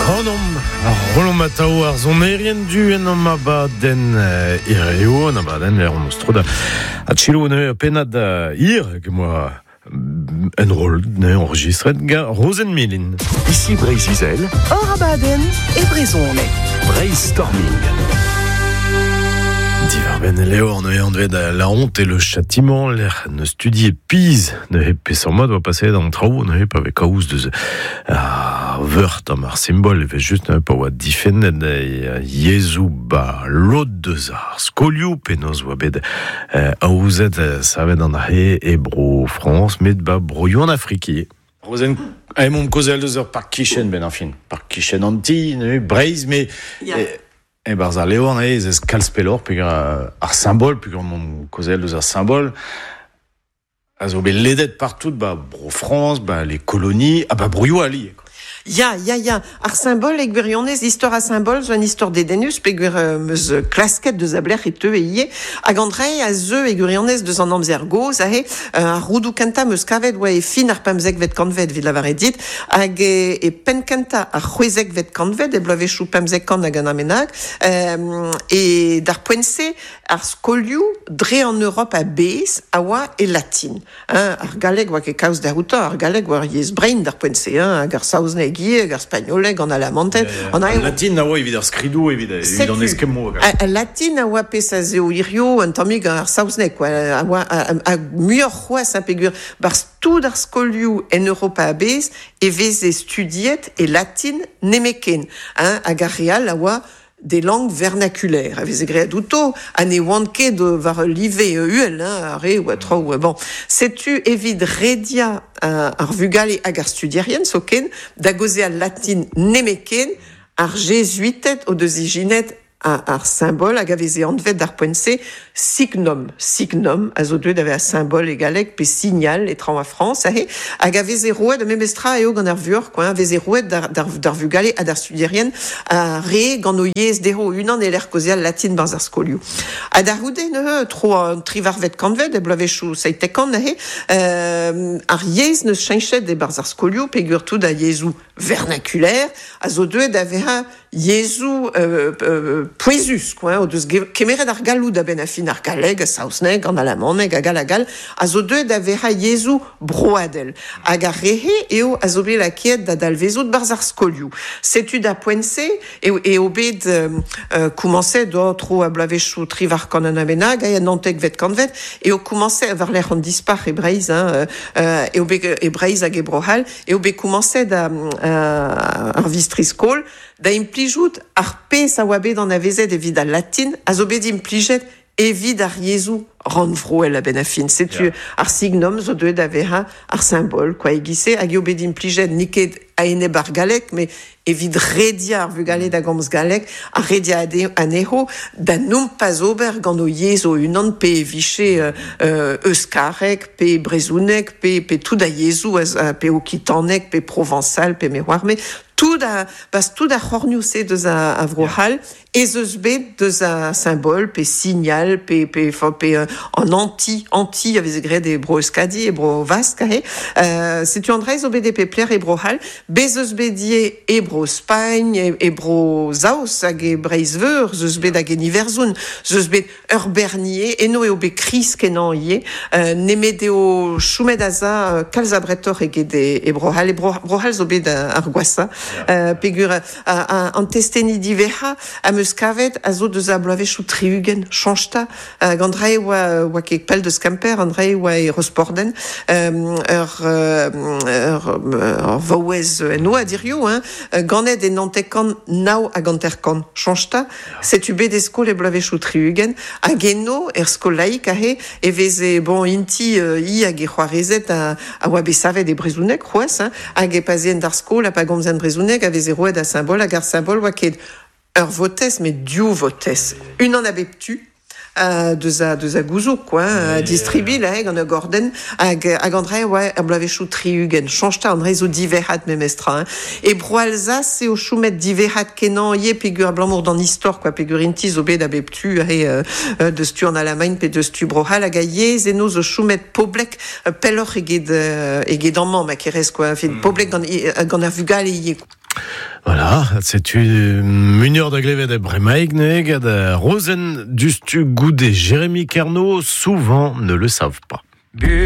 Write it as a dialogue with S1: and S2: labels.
S1: Kanomp, ar rollomp atav ar sonerien du en am abadenn hirio, an abadenn lec'h hon eus tro da adchiloù neuze ur pennad hir hag moa enroll neuze enregistret gant Rozenn Milin.
S2: Ici Breizh-Izel.
S3: Hor abadenn e brezhoneg.
S2: Breizh Storming.
S1: Diwar-benn e levr neuze anvet La honte et le châtiment, lec'h neus studiet pizh neuze peseurt mod oa paseet an traoù neuze pa vez kaoz deus ar veur tamm ar simbol evel-just neuze pa oa difennet yezhoù ba lod deus ar skolioù penaos oa bet aozet savet an ahe e bro Frañs met ba broioù an Afrik ivez. Rozenn, emaomp kaozeal deus ur park kichen benn ar fin. Park kichen an ti, neuze Breizh, met e-barzh al levr neuze ez eus kalz pelloc'h peogwir ar simbol, peogwir emaomp kaozeal deus ar simbol. A zo bet ledet partout ba Bro-Frañs, ba les colonies, ha ba broioù all ivez.
S3: Ya, ya, ya. Ar simbol e gwirionez, istor ar simbol zo un istor dedennus peogwir 'm eus klasket deus a belec'h e teue ivez. Hag an dra a zeu e gwirionez deus an amzer gozh aze. Ar roudoù kentañ 'm eus kavet oa e fin ar pemzekvet kantved evit lavaret dit, hag e penn kentañ ar c'hwezekvet kantved, e bloavezhioù 15 kant hag un dra bennak. E d'ar poent-se Ar skolioù dre an Europ a-bezh a oa e latin. Hein, ar galleg oa ket kaoz dezhañ, ar galleg oa ur yezh brein d'ar poent-se, hein, hag ar saozneg ivez, hag ar spagnoleg, an alamanted.
S1: An Al latin a oa evit ar skridoù, evit, evit an eskemmoù.
S3: Al latin a oa pezh a zeo hirio un tammig ar saozneg, quoi, a oa a, muioc'h c'hoazh, hein, peogwir barzh tout ar skolioù en Europa a-bezh e veze studiet e latin nemetken, hein, hag ar re all a oa des langues vernaculaires a veze graet outo ha ne oant ket war ul live uhel, hein, ar re oa traoù bon. Setu evit rediañ ar vugale hag ar studierien zoken da gaozeal latin nemetken, ar jezuited o deus ijinet ar simbol hag a veze anvet d'ar poent-se signum. Signum a zo deuet da vezañ simbol e galleg pe signal e traoñ a Frañs aze, hag a veze roet, memes tra eo gant ar vuoc'h, quoi, a veze roet d'ar vugale ha d'ar studierien ar re gant o yezh dezho o-unan e-lec'h kaozeal latin 'barzh ar skolioù. Ha da c'houde neuze, tro an trivarvet kantved, e bloavezhioù 70 neuze, ar yezh 'neus cheñchet e-barzh ar skolioù peogwir tout ar yezhoù vernaculaire a zo deuet da vezañ yezhoù pouezus quoi, o deus kemeret ar galloud a-benn ar fin ar galleg, ar saozneg, an alamaneg hag all hag all, a zo deuet da vezañ yezhoù broadel. Hag ar re-se eo a zo bet lakaet da dalvezout 'barzh ar skolioù. Setu da poent-se eo, eo bet komañset oh, tro a bloavezhioù triwac'h kant un bennak, en naontekvet kantved, eo komañset war-lerc'h an dispac'h e Breizh, hein, eo bet e Breizh hag e Bro-C'hall, eo bet komañset ar vistri-skol da implijout ar pezh a oa bet anavezet evit al latin a zo bet implijet evit ar yezhoù rannvroel a-benn ar fin. Setu ar signum zo deuet da vezañ ar simbol quoi e-giz-se hag eo bet implijet n'eo ket a-enep ar galleg met evit rediañ ar vugale da gomz galleg ha rediañ anezho da nompas ober gant o yezh o-unan pe e vije euskareg pe brezhoneg pe, pe tout a yezhoù pe okitaneg pe provañsal pe me oar me tout a pas tout ar c'hornioù-se deus a Vro-C'hall ez eus bet deus a simbol pe signal pe pe pe an anti anti a veze graet e Bro-Euskadi e Bro-Vask aze setu an dra zo bet e pep lec'h e Bro-C'hall bez eus bet ivez e Bro-Spagn e Bro-Saoz hag e Breizh-Veur 'z eus bet hag en Iwerzhon 'z eus bet Ur bernier, eno eo bet kriz-kenañ ivez, nemet eo chomet aza kalz abretoc'h eget e Bro-C'hall. E Bro-C'hall zo bet ar gwashañ, peogwir an testeni diwezhañ am eus kavet a zo deus ar bloavezhioù 60, chañch 'ta. Hag an dra e oa, oa ket pell deus Kemper, an dra e oa e Rosporden, ur ur vaouez en oad hiziv, hein, ganet e 9950, chañch 'ta. Setu bet e skol e bloavezhioù 60, hag eno, er skol laik aze, e veze, bon, int-i, hi hag he c'hoarezed a, a oa bet savet e brezhoneg c'hoazh, hein, hag e pa'z eent d'ar skol ha pa gomzent brezhoneg a veze roet ar simbol, hag ar simbol oa ket ur votez, met div votez, unan a bep tu. Deus a deus a gouzoug quoi, distribilh eh, gant ur gordenn hag hag an dra e oa er bloavezhioù 60. Chañch 'ta, an dra zo diverrat memestra. Hein. E Bro-Alzas eo chomet diverrat kenañ ivez peogwir abalamour d'an istor quoi, peogwir int-i zo bet a bep tu aze deus tu an Alamagn pe deus tu Bro-C'hall hag a yezh eno zo chomet poblek pelloc'h eget eget amañ ma kerez quoi, fin poblek gant gant ar vugale ivez.
S1: Voilà, setu munior da glevet e bremaik neuze gant Rozenn Dustu goude Jérémy Kerno, souvent ne le savent pas.